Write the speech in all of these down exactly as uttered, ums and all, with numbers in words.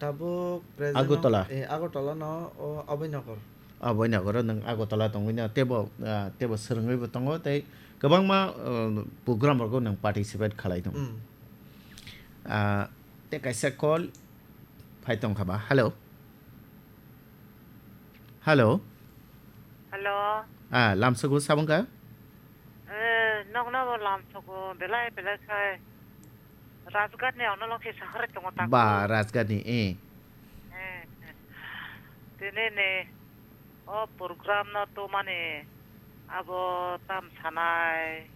Tabuk present Agartala. No, eh, Agartala no o Abhainagar. Abhainagar o nwng Agartala tongwi no tebo, ah, tebo swrwngwi bo tongo tei kwbangma, ah, program rogo nwng participate khalai tongo. Hmm. Ah, tei kaisa call phai tongkha ba. Hello. Hello. Hello. Ah, lamsogo sabungka? Eh, nokno bo lamsogo, belai belai khai. Rajghat ni ono lokhi sahar tongo ta. Ba, ko. Rajghat ni, eh. Eh, eh. Tini ni o program no tumani abo tam sanai.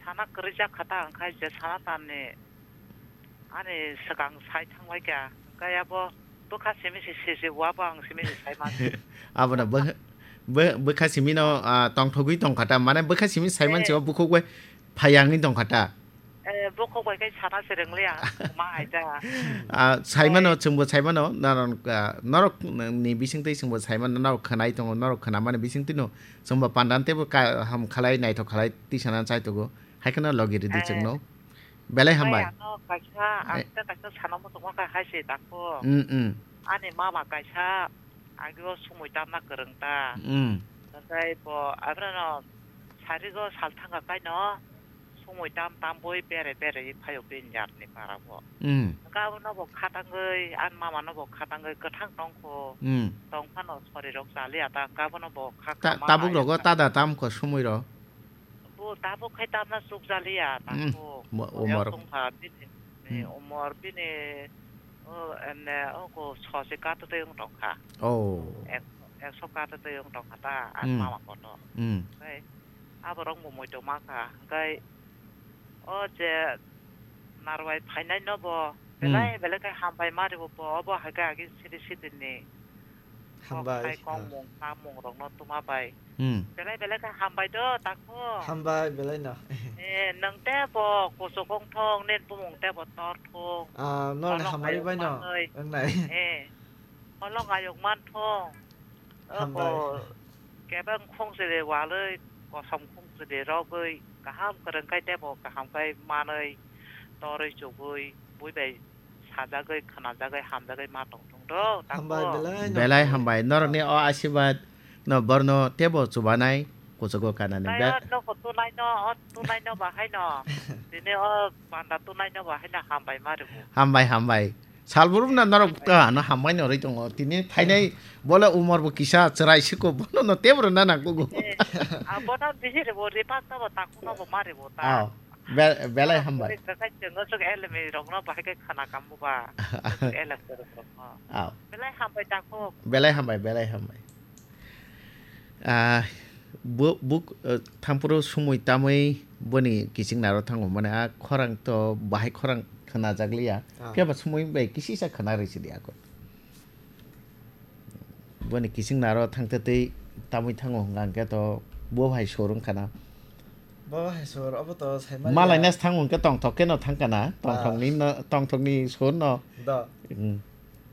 Sana kwrwi jak kha ta, hwnkhai je sana tamni ani swkang sai thangbai kha. Hwnkhai abo bwkha simi se, se, se, wa bo ang simi se sai man. Abono bwkha, bw-, bwkha simi no, ah, tongthogwi tong kha ta, mane bwkha simi sai man se Eh. O bukhuk bai phai yangwi tong kha ta. Eh, bukhuk bai khe sana se rwng liya, ma hai ta. Ah, sai mano, Eh. Chwngbo sai mano, norok, ah, norok ni bisingtwi chwngbo sai mano, norok khwnai tongo, norok khwnamani bisingtwi no chwngbo pandan teibo ka-, ham khalai, naithok khalai, twi sana chai tongo. Hai kheno logi rwdi Eh. Chwngno. Belai hambai. Hai ano kaisa, Eh. Ang ta kaisa sana muchungma kha hai se dakho. Mm, mm. Ani mama kaisa, agi o sumui tamna kwrwng ta. Mm. Hwnkhai bo, abono no sarigo sal thangkha kaino, sumui tam tambui bere bere phaio bini yarni para bo. Mm. Hwnkhai abono bo khatangwi, ani mama no bo khatangwi kwthang tongkho. Mm. Tongphano sori rok chaliya ta, hwnkhai abono bo kha Ta-, kama tabuk rogo ayakha. Tada tamkho sumui ro. Bo tabuk khai tamna chukjaliya, Hmm, takhu mo-, oyang umor. Tongkha bini, Hmm. Umor bini, o, ene, o, ko, sosi kata tei wng tongkha. Oh. Ek-, ekso kata tei wng tongkha ta, ang Hmm. Mama koto. Hmm. Hwnkhe aborok bo muitu ma kha, hwnkhe o je narwai phainai no bo Hmm. Belai belai khe hambai ma rwo bo, obo hai khe agi siri sidini. Hambai, Kok sai kok ha. Mung, samung rokno tuma bai. Hmm. Belai belai khe hambai do, takhu. Hambai, belai no. Eh, nwng tei bo kuchuk wng thung, nini bumung tei bo tor thung. Ah, norni Holong hambai ayuk bai no, manwi. Wngnai. Eh, holong ayuk man thung. Hambai. Obo kebeng khung chwrwi walwi, kosom khung chwrwi rogwi, kaham kwrwng khai tei bo kaham khai manwi, torwi chugwi, bui bai sajagwi, khwnajagwi, hamjagwi ma tong thung do, takhu. Hambai belai no. Belai hambai. Norokni o asirwad no borno teibo chubanai kuchugo kanani. Nai be- o nokho tunai no, o tunai no bahai no. Tini o panda tunai no bahai no hambai ma rwo. Hambai, hambai. Salbrum na norok ta no hambai no rwi tongo. Tini phainai bole umor bo kisa chwrai siko bono no tebro na nangkugo. Eh, abono bisi rwo, ripak ta bo, takhu no bo ma rwo ta. Aw. Be-, belai hambai. Kakai chwngno swk elemi rokno bahai khe khana kambo ba. Elem kwrwng rokno. Aw. Belai hambai takhu. Belai hambai, belai hambai. Ah, bu-, buk, eh, thampuru sumui tamui boni kiching naro thango mane a khorang to bahai khorang khwnajakliya. Ah. Phiya ba sumui bai kisisa khwna rwisi di ako. Boni kiching naro thangtwi twi tamui thango hwnkha hwnkhe to bo hai sur wngkha na. Bo hai sur, obo to saimaliya. Malai nas thango hwnkhe tongthok khe no thangkha na. Ah. Tongthokni no, tongthokni sur no. Do. Hmm.